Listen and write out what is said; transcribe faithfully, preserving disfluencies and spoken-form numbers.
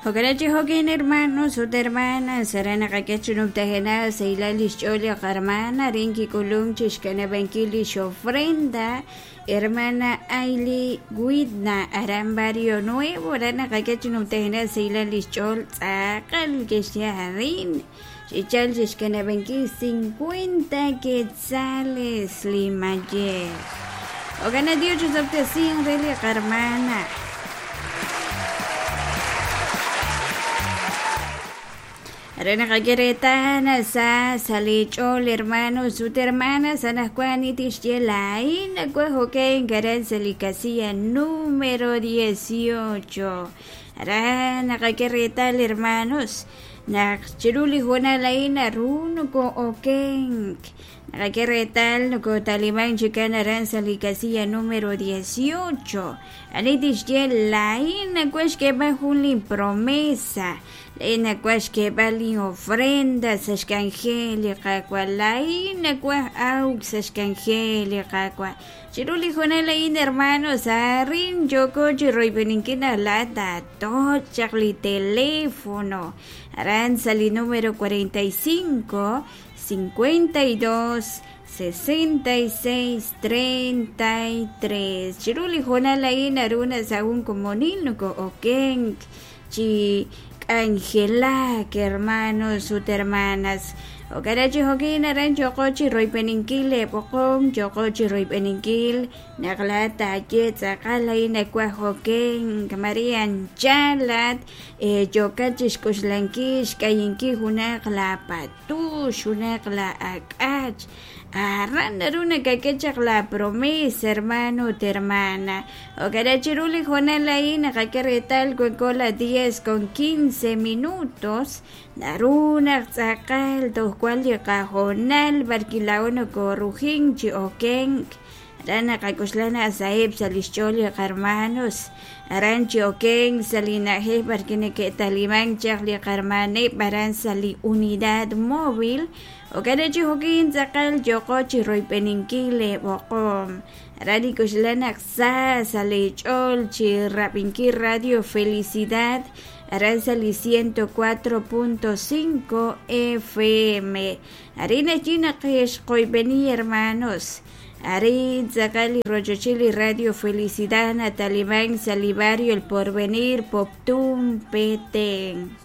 Jo'kan jo'kin hermanos ut hermanas aran naqak'e chi numtajenaq sahilal lix ch'ool li qarmana arin kik'ulunk chixkanabankil lix ofrenda hermana Aily Widna aran Barrio Nuevo aran naqak'e chi numtajenaq sahilal lix ch'ool tz'aqal kixye arin xichal chixkanabankil cincuenta quetzales li mayej Jo'kan Dios chisab'tesin re li qarmana Arena naqakeretana sa salich'ol hermanos ut hermanas anajwan itixye laa'in nawaj oken aran sa li casilla número dieciocho aran naqakeretal hermanos naq chiru li hoonal a'in naru nokoo'okenk naqakeretal nokotaliman chikan aran sa li casilla número dieciocho ani tixye laa'in nawaj xk'eeb'al jun li promesa laa'in nawaj xk'eeb'al li ofrenda sa' xk'anjel li Qaawa' laa'in nawaj awk sa' xk'anjel li Qaawa' chiru li hoonal a'in hermanos arin yooko chi royb'eninkil naq laa'at taatoch' chaq li teléfono aran sa' li número cuarenta y cinco, cincuenta y dos, sesenta y seis, treinta y tres chiru li hoonal a'in naru sa' jun komonil nokoo'okenk chi k'anjelak hermanos ut hermanas Jo'kan chi jo'kin aran yooko chi royb'eninkil leb'oqom yooko chi royb'eninkil naq laa'at taaye tz'aqal a'in nawaj okenk Maria anchal laa'at yookat chixk'uxlankil xk'ayinkil junaq la patux junaq la ak'ach aran naru nakak'e chaq la promesa hermano ut hermana Jo'kan chiru li hoonal a'in naqak'e reetal wanko la diez con quince minutos naru naq tz'aqal toj wan li qahoonal barkilao nokoorujink chi okenk aran naqak'uxla naq saheb' sa' lix ch'ool li qarmanos aran chi okenk sa' li na'ajej barki neke'taliman chaq li qarmaneb' aran sa' li unidad móvil Jo'kan chi jo'kin tz'aqal yooko chi royb'eninkil leb'oqom aran nik'uxla naq sa sa' li ch'ool chi rab'inkil Radio Felicidad aran sa' li ciento cuatro punto cinco F M arin allí naq xqoyb'eni hermanos arin tz'aqal li rochochil li Radio Felicidad nataliman sa' li barrio El Porvenir Poptún Petén.